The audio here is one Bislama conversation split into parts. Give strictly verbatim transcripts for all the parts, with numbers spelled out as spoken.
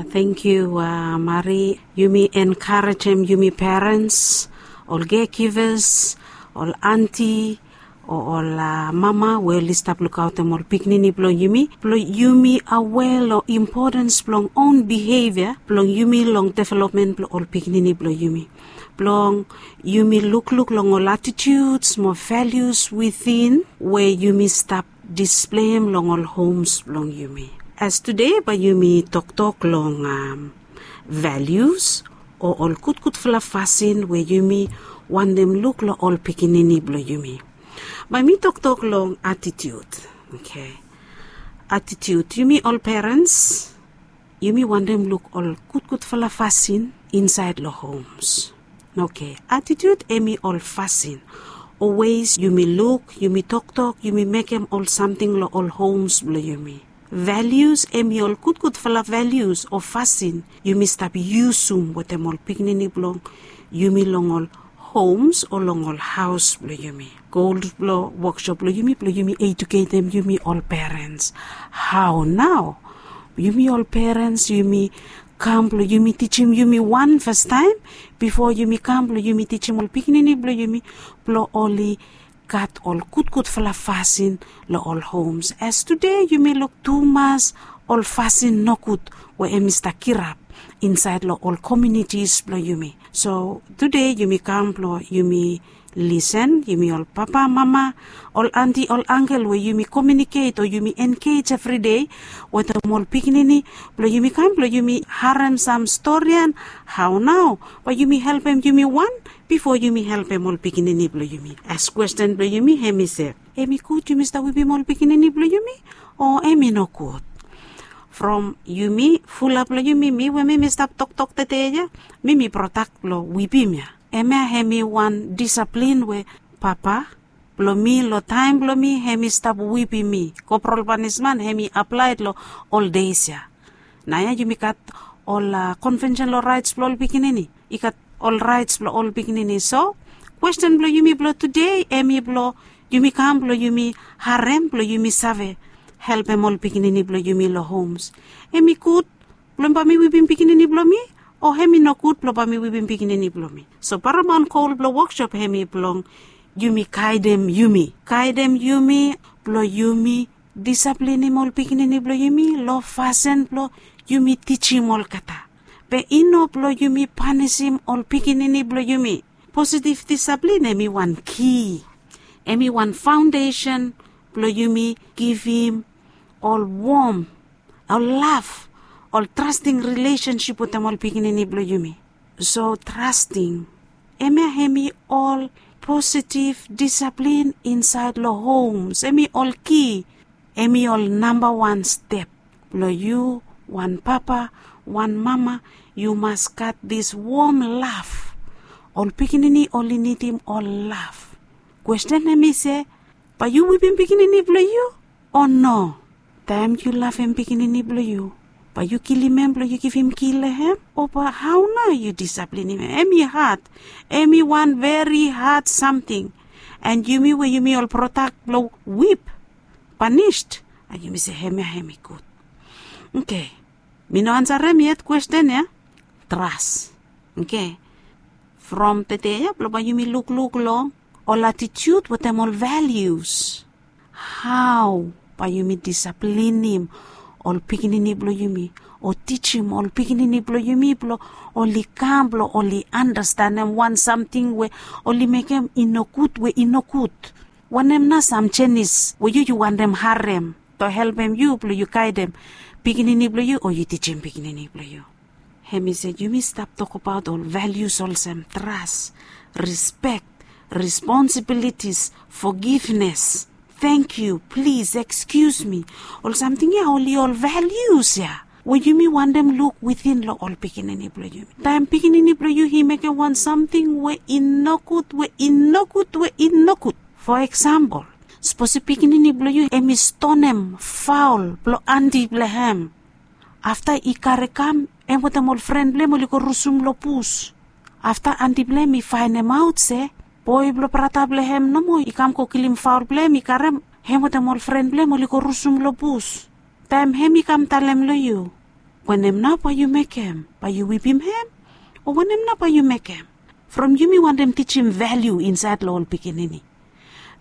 Thank you, Mari. Yumi enkarejem yumi parents, ol caregivers, ol anti, o ol mama we oli stap lukaotem ol pikinini blong yumi, blong yumi aware long importance blong own behavior blong yumi long development blong ol pikinini blong yumi, blong yumi lukluk long ol attitudes mo values within we yumi stap displeim long ol homes blong yumi. As tude bae yumi toktok long values o ol gudgudfala fasin we yumi wantem luk long ol pikinini blong yumi. Bae mi toktok long attitude. Oke. Attitude, yumi ol parents, yumi wantem luk ol gudgudfala fasin insaed long homes. Oke, attitude hemi ol fasin o ways yumi luk, yumi toktok, yumi mekem ol samting long ol homes blong yumi. Values hemi ol gudgudfala values o fasin yumi stap yusum wetem ol pikinini blong yumi long ol homes o long ol haos blong yumi. Goal blong woksop blong yumi blong yumi eduketem yumi ol parents. Hao nao yumi ol parents yumi kam blong yumi tijim yumi wan fastaem bifo yumi kam blong yumi tijim ol pikinini blong yumi blong oli gat ol gudgudfala fasin long ol homes. As tude yumi luk tumas ol fasin nogud we hemi stap kirap insaed long ol communities blong yumi. So tude yumi kam blong yumi lisen, yumi ol papa, mama, ol anti, ol ankel we yumi communicate o yumi engage everyday wetem ol pikinini blong yumi kam blong yumi harem sam storian. Hao nao bae yumi helpem yumi wan bifo yumi helpem ol pikinini blong yumi? As kwesten blong yumi hemi se, hemi gud yumi stap wipim ol pikinini blong yumi o hemi nogud? From yumi fulap long yumi, mi we mi mi stap toktok tede ya, mi mi protak long wipim ya. Hemia hemi wan disaplin we papa blong mi long taem blong mi hemi stap wipim mi. Koprol panisman hemi aplaed long ol deis ya. Naoia yumi gat ol konvensen long raets blong ol pikinini. I gat ol raets blong ol pikinini. So kwesten blong yumi blong tude hemi blong yumi kam blong yumi harem blong yumi save helpem ol pikinini blong yumi long homes. Hemi gud blong bae mi wipim pikinini blong mi o hemi nogud blong bae mi wipim pikinini blong mi? So paramount goal blong woksop hemi blong yumi gaedem yumi, gaedem yumi blong yumi disaplinim ol pikinini blong yumi long fasin blong yumi tijim olgeta, be i no blong yumi panisim ol pikinini blong yumi. Positiv disaplin hemi wan ki, hemi wan faondesen blong yumi givim ol wom, ol lav, ol trasting rilesensip wetem ol pikinini blong yumi. So trasting, hemia hemi ol positiv disaplin insaed long homes, hemi ol ki, hemi ol nambawan step blong yu wan papa, wan mama, yu mas gat dis wom lav. Ol pikinini oli nidim ol lav. Kwesten hemi se, bae yu wipim pikinini blong yu o no? Taem yu lavem pikinini blong yu, bae yu kilim hem blong yu givim ki long hem, o bae hao nao yu disaplinim hem? Hemi had, hemi wan veri had samting. An yumi we yumi ol prodak blong wip, panis, a yumi se hemia hemi gud? Oke. Mi no ansarem yet kwesten ya. Tras. Oke. From tede ya blong bae yumi lukluk long ol atitiud wetem ol valius. Hao bae yumi disaplinim ol pikinini blong yumi o tijim ol pikinini blong yumi blong oli kam blong oli andastanem wan samting we oli mekem i nogud, we i nogud? Wanem nao sam jenis we yu yu wantem harem blong helpem yu blong yu gaedem pikinini blong yu o yu tijim pikinini blong yu? Hemi se yumi stap tokbaot ol valius olsem tras, rispek, responsibilities, fogivnes, tangkiu, plis, ekskius mi. Ol samting ya oli ol valius ya we yumi wantem luk within long ol pikinini blong yumi. Taem pikinini blong yu i mekem wan samting we i nogud, we i nogud, we i nogud, fo eksampol, sapos pikinini blong yu hemi stonem faol blong anti blong hem. Afta i kare kam, hem wetem ol fren blong hem oli go rusum long bus. Afta anti blong hem i faenemaot se boe blong brata blong hem nomo i kam go kilim faol blong hem, i karem hem wetem ol fren blong hem oli go rusum long bus. Taem hem i kam talem long yu, Wanem nao bae yu mekem? Bae yu wipim hem? O wanem nao bae yu mekem? From yumi wantem tijim valiu insaed long ol pikinini,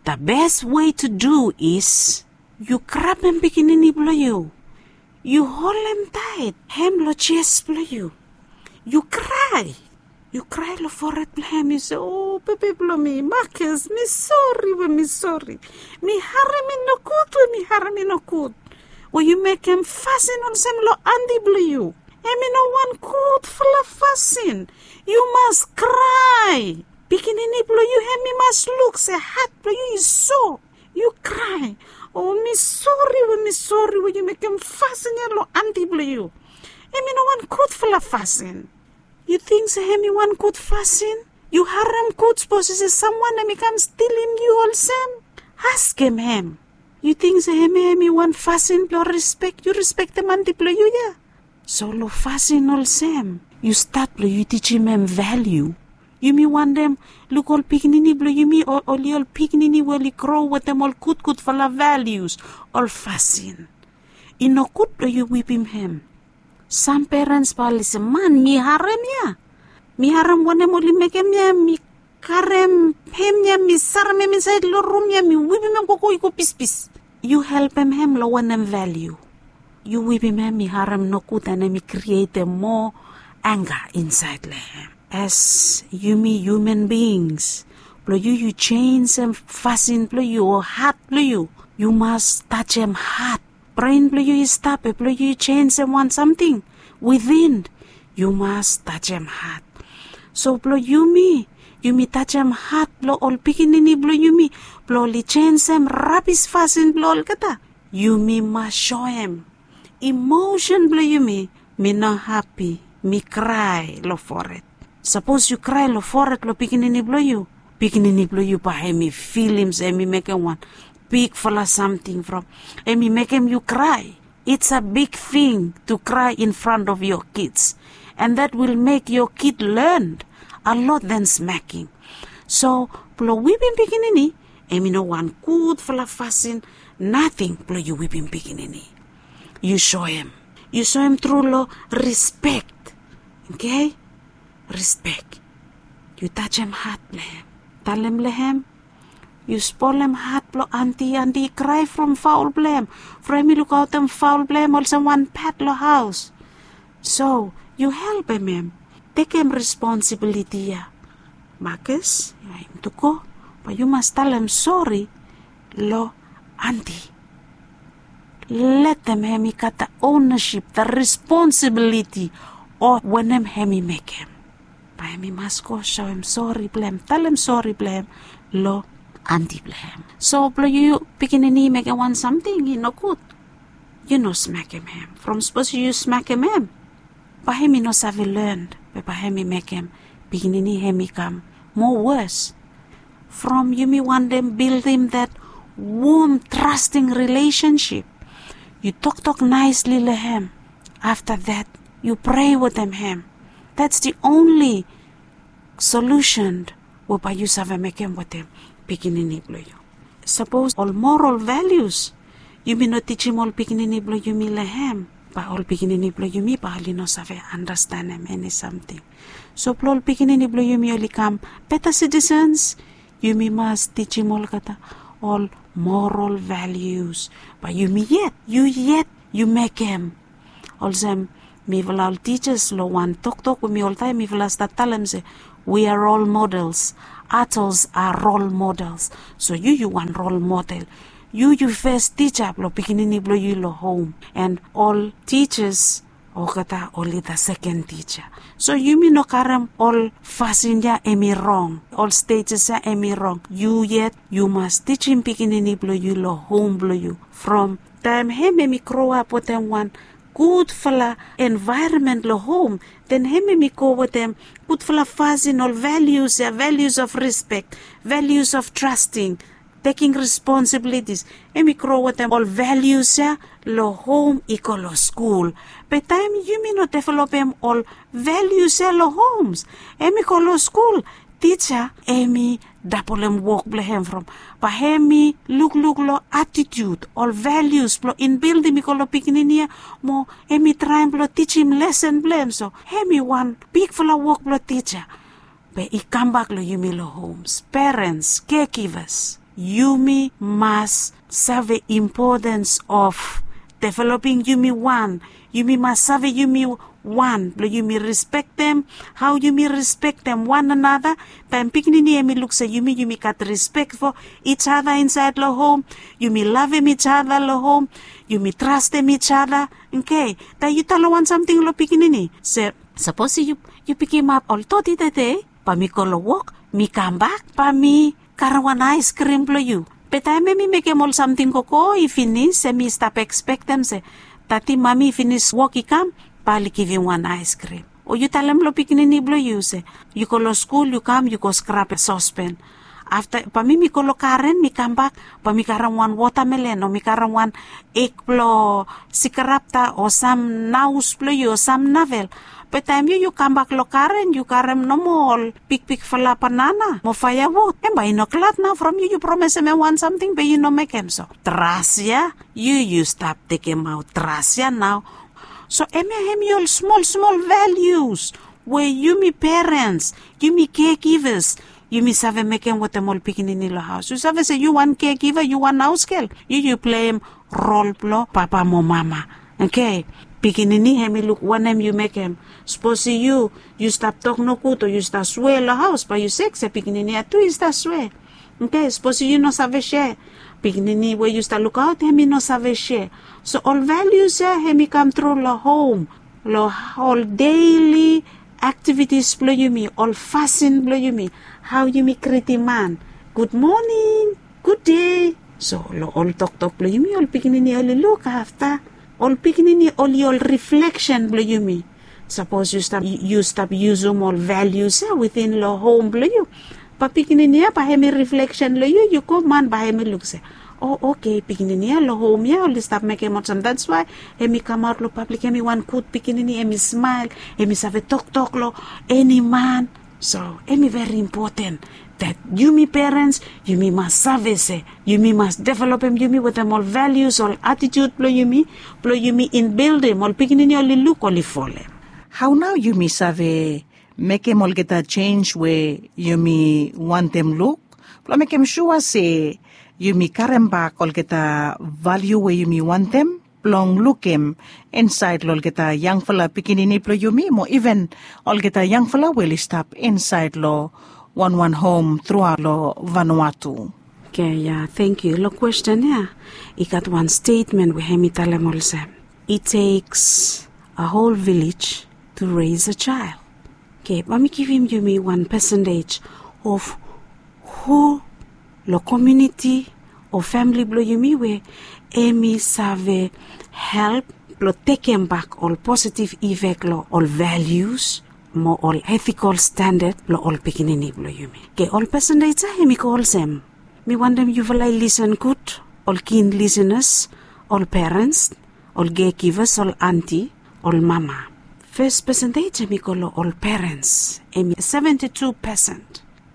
the best way to do is yu grabem pikinini blong yu, yu holem taet hem long jes blong yu, yu krae. Yu krae long fored blong hem, yu se, o bebe blong mi Marcus, mi sori we mi sori. Mi harem i nogud we mi harem i nogud we yu mekem fasin olsem long anti blong yu. Hem i no wan gudfala fasin. Yu mas krae. Pikinini blong yu hem i mas luk se hat blong yu i so. Yu krae. O mi sori we mi sori we yu mekem fasin ya long anti blong yu. Hem i no wan gudfala fasin. Yu ting se hem i wan gud fasin? Yu harem gud sapos i se samwan hem i kam stilim yu olsem? Askem hem. Yu ting se hem ya hem i wan fasin blong rispek, yu rispektem anti blong yu ya? So long fasin olsem yu stat blong yu tijim hem valiu. Yumi wantem luk ol pikinini blong yumi, oli ol pikinini we oli gro wetem ol gudgudfala valius, ol fasin. I nogud blong yu wipim hem. Sam perens bae oli se, man, mi harem ya. Mi harem wanem oli mekem ya, mi karem hem ya, mi sarem hem insaed long rum ya, mi wipim hem gogo i go pispis. Yu helpem hem long wanem valiu? Yu wipim hem i harem nogud and hem i krietem moa anga insaed long hem. As yumi human beings, blong yu yu jenisim fasin blong yu o hat blong yu, yu mas tajem hat. Bren blong yu i stap, be blong yu i jenisim wan samting within, yu mas tajem hat. So blong yumi, yumi tajem hat blong ol pikinini blong yumi, blong oli jenisim rabis fasin blong olgeta. Yumi mas soem emosen blong yumi, mi no hapi, mi krae long fored. Sapos yu krae long fored long pikinini blong yu, pikinini blong yu bae hem i filim se hem i mekem wan bigfala samting from hem i mekem yu krae. It's a big thing to cry in front of your kids, and that will make your kid learn a lot than smacking. So blong wipim pikinini, hem i no wan gudfala fasin nating blong yu wipim pikinini. Yu soem, yu soem tru long rispek. Oke? Rispek. Yu tajem hat blong hem. Talem long hem, yu spolem hat blong anti, anti i krae from faol blong hem, from hem i lukaotem faol blong hem olsem wan pet long haos. So yu helpem hem tekem responsibiliti ya. Marcus, ya hem tu go, bae yu mas talem sori long anti. Letem hem i gat the ownership, the responsibiliti of wanem hem i mekem. Bae hem i mas go soem sori blong hem, talem sori blong hem long anti blong hem. So blong yu pikinini i mekem wan samting i nogud, yu no smekem hem. From sapos yu smekem hem, bae hem i no save learn, be bae hem i mekem pikinini hem i kam moa wos. From yumi wantem bildim that warm, trusting relationship, yu toktok naesli long hem. Afta that, yu prea wetem hem. That's the only solution we bae yu save mekem wetem pikinini blong yu. Sapos ol moral values yumi no tijim ol pikinini blong yumi long hem, bae ol pikinini blong yumi bae oli no save andastanem eni samting. So blong ol pikinini blong yumi oli kam beta sitisens, yumi mas tijim olgeta ol moral values. Bae yumi yet, yu yet yu mekem. Olsem mifala ol tijas long wan toktok we mi oltaem mifala stat talem se, we are role models. Others are role models. So yu yu wan role model. Yu yu fes tija blong pikinini blong yu long hom, and ol tijas olgeta oli the seken tija. So yumi no karem ol fasin ya hem i rong, ol stejes ya hem i rong. Yu yet yu mas tijim pikinini blong yu long hom blong yu. From taem hem hem i groap wetem wan gudfala envaeronmen long hom, den hem hem i go wetem gudfala fasin, ol values ya, values of respect, values of trusting, taking responsibilities. Hem i gro wetem ol values ya long hom i go long skul. Be taem yumi no developem ol values ya long homes, hem i go long skul, tija em i dabolem wok blong hem from, bae hem i lukluk long atitiut, ol valius blong inbildim i go long pikinini ya, mo hem i traem blong tijim lesen blong hem. So hem i wan bigfala wok blong tija. Be i kambak long yumi long homes, perens, kekivas, yumi mas save impotens of developing yumi wan. Yumi mas save yumi wan blong yumi rispektem, hao yumi rispektem wan anata. Taem pikinini hem i luk se yumi yumi gat rispek fo ij ada insaed long hom, yumi lavem ij ada long hom, yumi trastem ij ada. Oke, taem yu talem wan samting long pikinini se, sapos yu yu pikimap ol toti tede, bae mi go long wok, mi kambak, bae mi karem wan aeskrim blong yu. Be taem hem i mekem ol samting gogo i finis, hem i stap ekspektem se tati mami i finis wok i kam, bae oli givim wan aeskrim. O yu talem long pikinini blong yu se yu go long skul, yu kam, yu go skrap sospen. Afta bae mi mi go long garen, mi kambak, bae mi karem wan wotamelen o mi karem wan ek blong sikarapta o sam naus blong yu o sam navel. Be taem yu yu kambak long garen, yu karem nomo ol bigbigfala banana mo faeawud, hem bae i no glad nao from yu. Yu promesem hem wan samting be yu no mekem. So tras ya, yu yu stap tekemaot tras ya nao. So hemia hem i ol smol smol valius we yumi perens, yumi kekivas, yumi save mekem wetem ol pikinini long haos. Yu save se yu wan kekiva, yu wan haosgel, yu yu pleim rol blong papa mo mama. Oke, pikinini hem i luk wanem yu mekem. Sapos yu yu stap tok nogud o yu stap swea long haos, bae yu sek se pikinini ya tu i stap swea. Oke, sapos yu no save sea, pikinini we yu stap lukaot hem i no save sea. So ol valius ya hem i kamtru long hom, long ol deli aktivitis blong yumi, ol fasin blong yumi, hao yumi gritim man, gud moning, gud dei. So long ol toktok blong yumi ol pikinini oli luk afta. Ol pikinini oli ol rifleksen blong yumi. Sapos yu stap yu stap yusum ol valius ya witin long hom blong yu, bae pikinini ya bae hem i rifleksen long yu. Yu go man bae hem i luk se, o oke, pikinini ya long hom ya oli stap mekem olsem, dats wae hem i kamaot long pablik hem i wan gud pikinini, hem i smael, hem i save toktok long eni man. So hem i veri impoten dat yumi perens yumi mas save se yumi mas developem yumi wetem ol valius, ol atitiut blong yumi, blong yumi inbildim ol pikinini oli luk oli folem. Hao nao yumi save mekem olgeta jenj we yumi wantem luk blong mekem sua se yumi karembak olgeta valiu we yumi wantem blong lukim insaed long olgeta yangfala pikinini blong yumi mo iven olgeta yangfala we oli stap insaed long wanwan hom truaot long Vanuatu. Oke, ya, tangkiu. Long kwesten ya i gat wan stetmen we hem i talem olsem, it takes a whole village to raise a child. Oke, bae mi givim yumi wan pesentej of hu long komuniti o famili blong yumi we hem i save help blong tekembak ol positiv ifek long ol valius mo ol etikol standad blong ol pikinini blong yumi. Oke, ol pesentej ya hem i go olsem. Mi wantem yufala i lisen gud, ol kin lisenas, ol perens, ol kekivas, ol anti, ol mama. Fes pesentej hem i go long ol perens, hem i seventi tu pesen.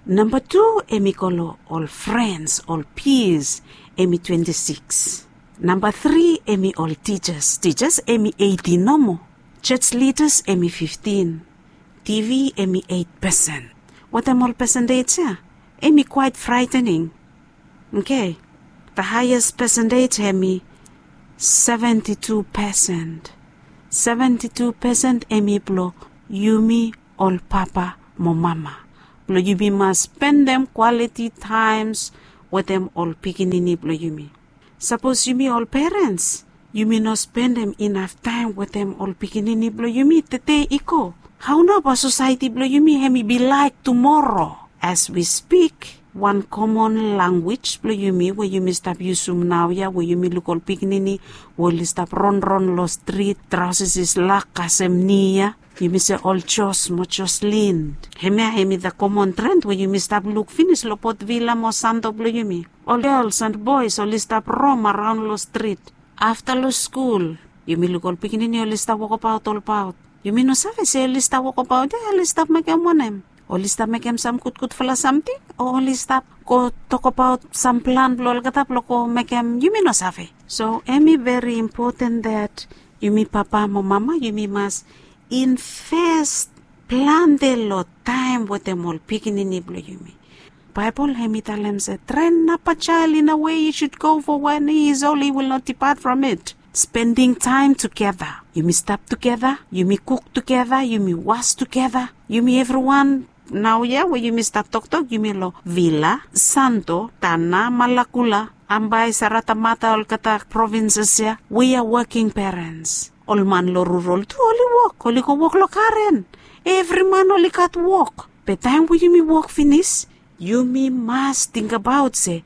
Namba tu hem i go long ol frens, ol pias, hem i twenti sikis. Namba tri hem i ol tijas, tijas hem i eiti nomo. Jos lidas hem i fiftin. Tivi hem i eit pesen. Watem ol pesentej ya hem i kwaet fraetening. Oke, da haeas pesentej hem i seventi tu pesen. Seventi tu pesen hem i blong yumi ol papa mo mama, blong yumi mas spendem kwaliti taems wetem ol pikinini blong yumi. Sapos yumi ol perens yumi no spendem inaf taem wetem ol pikinini blong yumi tede i go, hao nao bae sosaeti blong yumi hem i bi laek tumoro? As wi spik, wan komon lanwis blong yumi we yumi stap yusum naoia we yumi luk ol pikinini we oli stap ronron long strit, traoses i slak kasem ni ya, yumi se ol Jos mo Joslin. Hemia hem i da komon tren we yumi stap luk finis long Port Vila mo Santo blong yumi. Ol gels and boes oli stap rom araon long strit. Afta long skul yumi luk ol pikinini oli stap wokabaot olbaot. Yumi no save se oli stap wokabaot ya oli stap mekem wanem. Oli stap mekem sam gudgudfala samting, o oli stap go tokabaot sam plan blong olgeta blong go mekem, yumi no save. So em i veri impoten dat yumi papa mo mama yumi mas invest plante long taem wetem ol pikinini blong yumi. Baebol em i talem se, tren napa jael in a wei yu sud go fo wen i is oli wil not dipat from it. Spending taem tugeta, yumi stap tugeta, yumi kuk tugeta, yumi was tugeta, yumi evriwan. Naoia we yumi stap toktok yumi long Vila, Santo, Tana, Malakula, Ambae, Saratamata, olgeta provinses ya, we are working parents. Ol man long rural tu oli wok, oli go wok long garen. Evri man oli gat wok. Be taem we yumi wok finis, yumi mas tingbaot se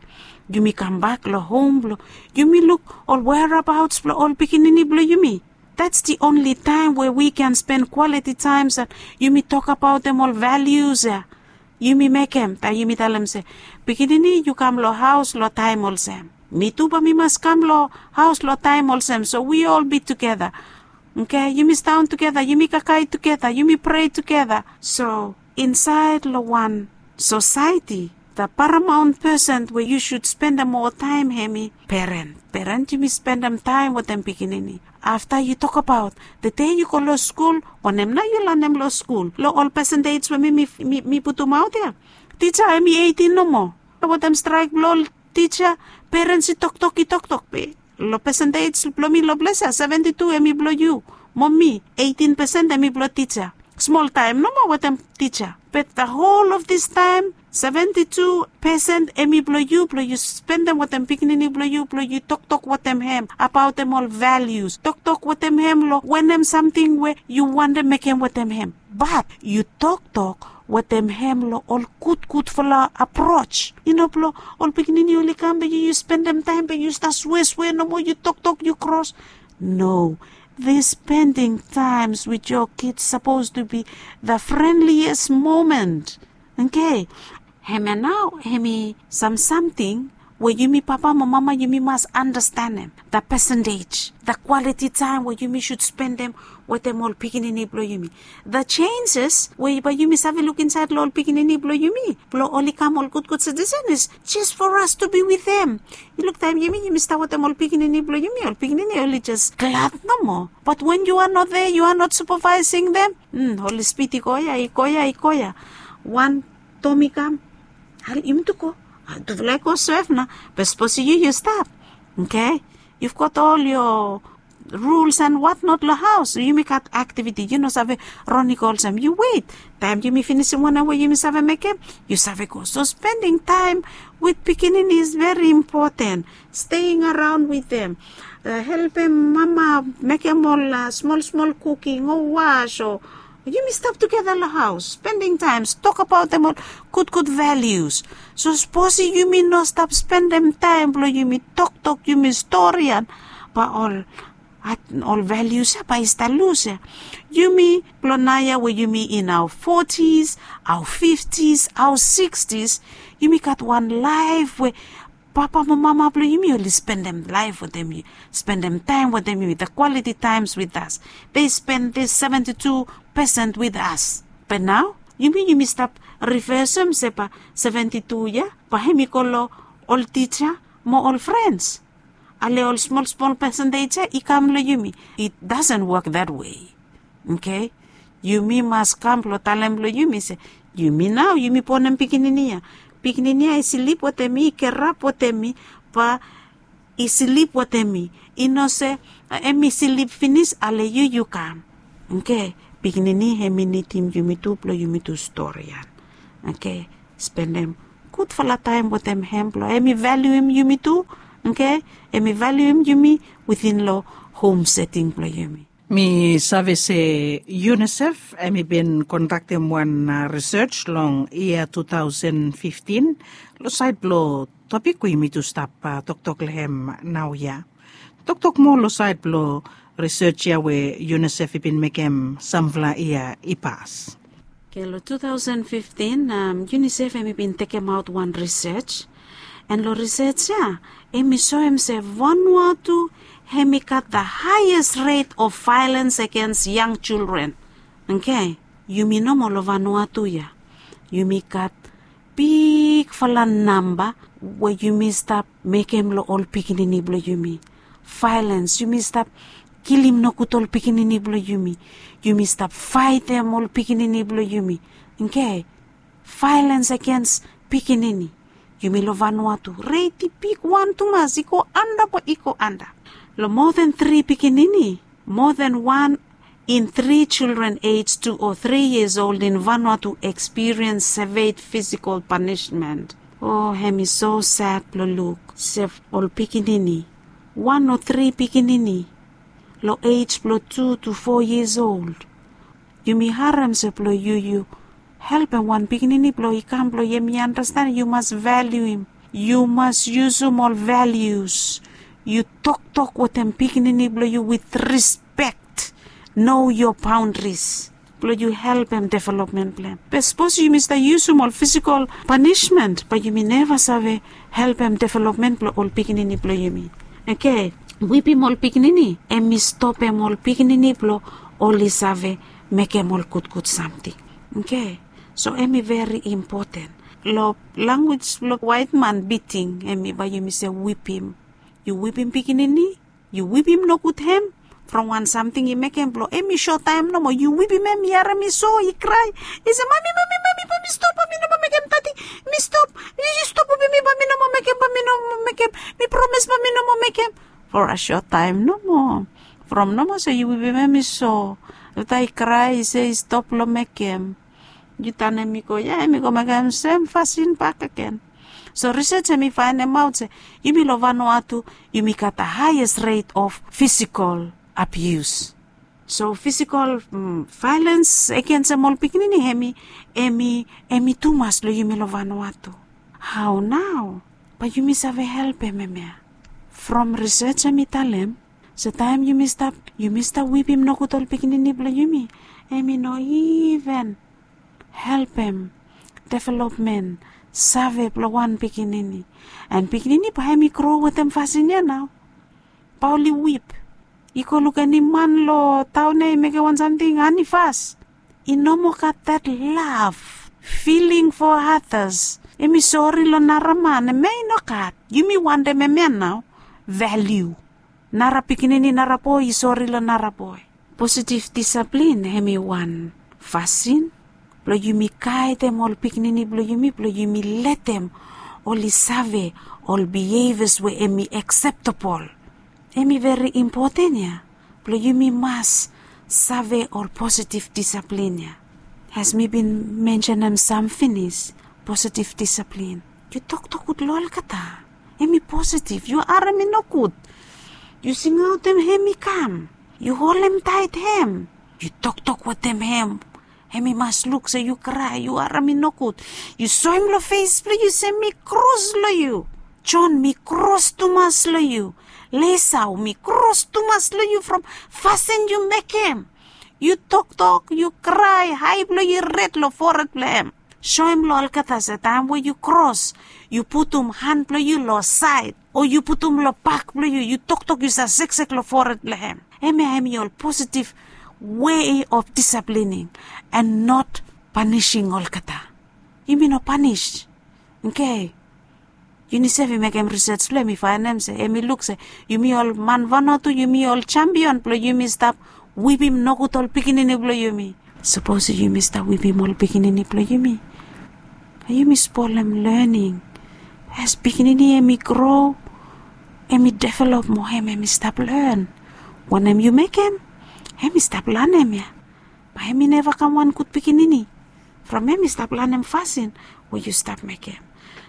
yumi kambak long hom blong yumi luk ol whereabouts blong ol pikinini blong yumi. That's the only time where we can spend quality times and yumi tokabaotem ol values ya yumi mekem, taem yumi talem se, pikinini yu kam long haos long taem olsem, mi tu bae mi mas kam long haos long taem olsem, so we all be together. Okay, yumi staon tugeta, yumi kakae tugeta, yumi prei tugeta. So insaed long wan sosaeti, the paramount person we yu sud spendem moa taem hem i peren. Peren yumi spendem taem wetem pikinini. Afta yu tokabaot, the day yu go long skul, wanem nao yu lanem long skul? Long ol pesentej we mi mi mi putumaot ya, tija hem i eitin nomo. Wetem straek blong ol tija, perens i toktok i toktok be long pesentej blong mi long ples ya seventi tu hem i blong yu. Mo mi, eitin pesen hem i blong tija. Smol taem nomo wetem tija. Be the whole of this taem, seventi tu pesen hem i blong yu blong yu spendem wetem pikinini blong yu blong yu toktok wetem hem abaotem ol values, toktok wetem hem long wanem samting we yu wantem mekem wetem hem. Bat yu toktok wetem hem long ol gudgudfala aprots, i no blong ol pikinini oli kam be yu yu spendem taem be yu stap sweswe nomo, yu toktok yu kros. No. This spending times with your kids supposed to be the friendliest moment. Okay. Hem ya nao hem i sam samting we yumi papa mo mama yumi mas andastanem, the percentage, the quality taem we yumi sud spendem wetem ol pikinini blong yumi. The changes we bae yumi save luk insaed long ol pikinini blong yumi blong oli kam ol gudgud sitisen is just for us to be with them. Yu luk taem yumi yumi stap wetem ol pikinini blong yumi, ol pikinini oli jes glad nomo. But when you are not there, you are not supervising them, oli spit i go ya i go ya i go ya. Wan tom i kam, ale yumi tu go. Tufala i go sef nao. Be sapos yu yu stap, okay, you've got all your rules and what not long haos. Yumi gat aktiviti, yu no save ron i go olsem, yu wet. Taem yumi finisim wanem we yumi save mekem, yu save go. So spending time with pikinini is very important. Staying around with them, helpem mama mekem ol smol smol kuking o was o yumi stap tugeta long haos, spending times, tokabaotem ol gudgud values. So sapos yumi no stap spendem taem blong yumi toktok yumi storian, bae ol ol values ya bae i stap lus ya. Yumi blong naoia we yumi in our forties, our fifties, our sixties, yumi gat wan laef we papa mo mama blong yumi oli spendem laef wetem yu, spendem taem wetem yumi, the quality times with us. They spend this seventy two percent with us. Be nao yumi yumi stap rivesem se bae seventy two ya bae hem i go long ol tija mo ol frens. Ale ol smol smol percentage ya i kam long yumi. It doesn't work that way. Okay. Yumi mas kam blong talem long yumi se, yumi nao yumi bonem pikinini ya. Pikinini ya i slip wetem mi, i kerap wetem mi, bae i slip wetem mi. I no se em i slip finis ale yu yu kam. Okay. Pikinini hem i nidim yumi tu blong yumi tu storian. Okay. Spendem gudfala taem wetem hem blong hem i valuem yumi tu. Okay. Hem i valuem yumi within long hom seting blong yumi. Mi save se unicef hem i bin kondaktem wan risej long yia tu taosen fiftin long saed blong topik we yumi tu stap toktok long hem naoia. Toktok moa long saed blong risej ya we unicef i bin mekem samfala yia i pas. Ke long tu taosen fiftin, unicef hem i bin tekemaot wan risej. An long risej ya hem i soem se vanua tu hem i gat the haies ret of vaelens agens yang jildren. Okay. Yumi nomo long vanua tu ya. Yumi gat bigfala namba we yumi stap mekem long ol pikinini blong yumi. Vailens, yumi stap kilim nogud ol pikinini blong yumi. Yumi stap faetem ol pikinini blong yumi. Oke. Vailens agens pikinini. Yumi long Vanuatu reit i bigwan tumas, i go anda, bae i go anda. Long moa den tri pikinini, moa den wan in tri children age tu o tri yias old in Vanuatu ekspiriens sevea fisikol panismen. O, hem i so sad blong luk se ol pikinini, wan o tri pikinini long age blong tu tu fo yias old. Yumi harem se blong yu, yu helpem wan pikinini blong i kam blong hem i andasten, yu mas valiuim. Yu mas yusum ol valius. Yu toktok wetem pikinini blong yu wit rispek. Know your boundaries blong yu helpem developmen blong hem. Be sapos yumi stap yusum ol fisikol panismen, bae yumi neva save helpem developmen blong ol pikinini blong yumi. Oke, wipim ol pikinini hem i stopem ol pikinini blong oli save mekem ol gudgud samting. Oke, so hem i veri impoten. Long lanwis blong waetman, biting, hem i bae yumi se wipim. Yu wipim pikinini, yu wipim nogud hem from wan samting i mekem blong hem i sotaem nomo. Yu wipim hem, yu harem i so i krae, i se, "Mami, mami, mami, bae mi stop, bae mi no moa mekem, Dadi. Mi stop. Yu stop wipim mi, bae mi no moa mekem, bae mi no moa mekem. Mi promes bae mi no moa mekem." For a sotaem nomo. From nomo se yu wipim hem i so, afta i krae i se i stop long mekem, yu tanem i go, ya hem i go mekem sem fasin bakegen. So risej hem i faenemaot se yumi long Vanuatu, yumi gat a haies ret of fisikol abius. So fisikol vaelens agensem ol pikinini hem i, hem i, hem i tumas long yumi long Vanuatu. Hao nao bae yumi save helpem hemia? From risej hem i talem se taem yumi stap, yumi stap wipim nogud ol pikinini blong yumi, hem i no iven helpem developmen save blong wan pikinini. An pikinini bae hem i gro wetem fasin ya nao. Bae oli wip, i go luk eni man long taon ya i mekem wan samting, ani fas. I no moa gat that love, feeling for others. Hem i sori long nara man, hemia i no gat. Yumi wantem hemia nao. Valiu. Nara pikinini, nara boe i sori long nara boe. Positiv disaplin hem i wan fasin blong yumi gaedem ol pikinini blong yumi, blong yumi letem oli save ol bihevias we hem i akseptabol. Hem i veri impoten ya blong yumi mas save ol positiv disaplin ya. As mi bin mensenem sam finis, positiv disaplin. Yu toktok gud long olgeta. Hem i positiv. Yu harem i nogud, yu singaotem hem i kam. Yu holem taet hem. Yu toktok wetem hem. Hem i mas luk se yu krae, yu harem i nogud. Yu soem long fes blong yu se mi kros long yu. Jon, mi kros tumas long yu. Lesao, mi kros tumas long yu from fasin yu mekem. Yu toktok, yu krae, ae blong yu red long fored blong hem. Soem long olgeta se taem we yu kros, yu putum han blong yu long saed, o yu putum long bak blong yu, yu toktok, yu save seksek long fored blong hem. Hemia hem i ol positiv wei of disaplining and not panising olgeta. Yumi no panis. Oke. Yuni save mekem risej blong hem i faenem se, hem i luk se yumi ol man Vanuatu, yumi ol jampion blong yumi stap wipim nogud ol pikinini blong yumi. Sapos yumi stap wipim ol pikinini blong yumi, yumi spolem lening. As pikinini hem i gro, hem i develop moa, hem hem i stap len. Wanem yu mekem, hem i stap lanem ya. Bae hem i neva kam wan gud pikinini from hem i stap lanem fasin we yu stap mekem.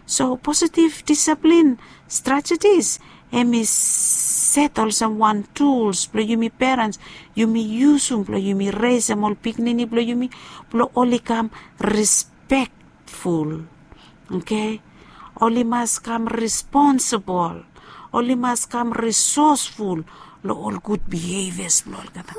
So positiv disaplin stratejis hem i set olsem wan tuls blong yumi perens, yumi yusum blong yumi resem ol pikinini blong yumi blong oli kam rispektful. Oke. Oli mas kam responsibol. Oli mas kam risosful long ol gud bihevias blong olgeta.